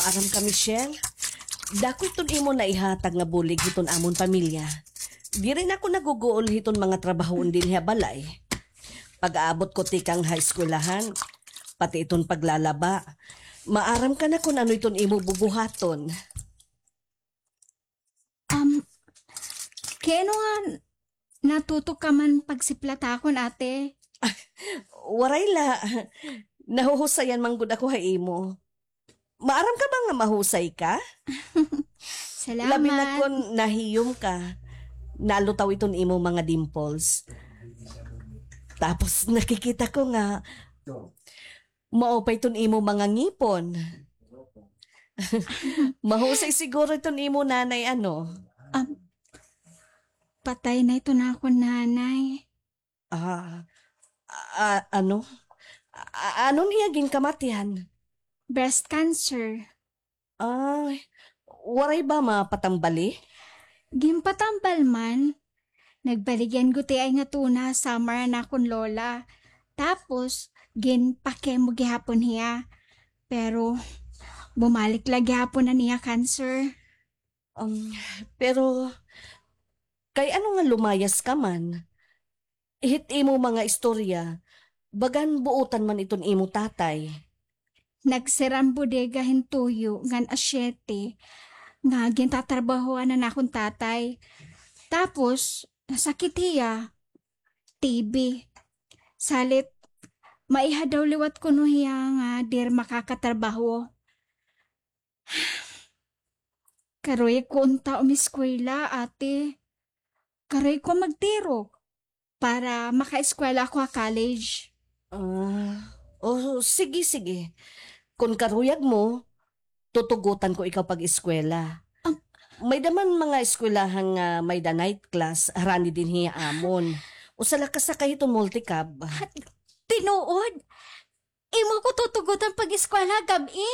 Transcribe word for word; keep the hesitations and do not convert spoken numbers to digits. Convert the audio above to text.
Aram ka, Michelle, dako iton imo naihatag nga bulig hiton amon pamilya. Diri na ako naguguol hiton mga trabahoon dinhi ha balay. Pag-aabot ko tikang ha eskwelahan, pati iton paglalaba, maaram ka na kon ano iton imo bubuhaton. Um, kay ano nga natuto ka man pagsiplat ha akon, ate? Waray la. Nahuhusayan man gud ako ha imo. Maaram ka ba nga mahusay ka? Salamat. Labi na kon nahiyom ka. Nalutaw iton imo mga dimples. Tapos nakikita ko nga mao pa iton imo mga ngipon. Mahusay siguro iton imo nanay, ano? Um, patay na iton akon nanay. Ah, ah, ano? Ah, ano niya ginkamatian? Breast cancer. Ay, waray ba mapatambali? Ginpatambal man. Nagbaligyan gud hiya nga tuna ha summer an akon lola. Tapos, ginpa-chemo gihapon hiya. Pero, bumalik la gihapon an iya cancer. Um, pero, kay ano nga lumayas ka man? Hit imo mga istorya, bagan buotan man iton imo tatay. Nagsira an bodega hin tuyo ngan asyete nga gintatrabahoan han akon tatay. Tapos, nasakit hiya. T B. Salit, maiha daw liwat kuno hiya nga diri makakatrabaho. Karuyag ko unta umiskwela, ate. Karuyag ko magtirok para makaeskwela ako ha college. Ah, oh, sige, sige. Kon karuyag mo, tutugotan ko ikaw pag-eskwela. Am- May-da man mga eskwelahan nga may-da night class, harani dinhi ha amon. Usa la ka sakay hiton multicab. Tinuod? Imo ko tutugotan pag-eskwela gab-i?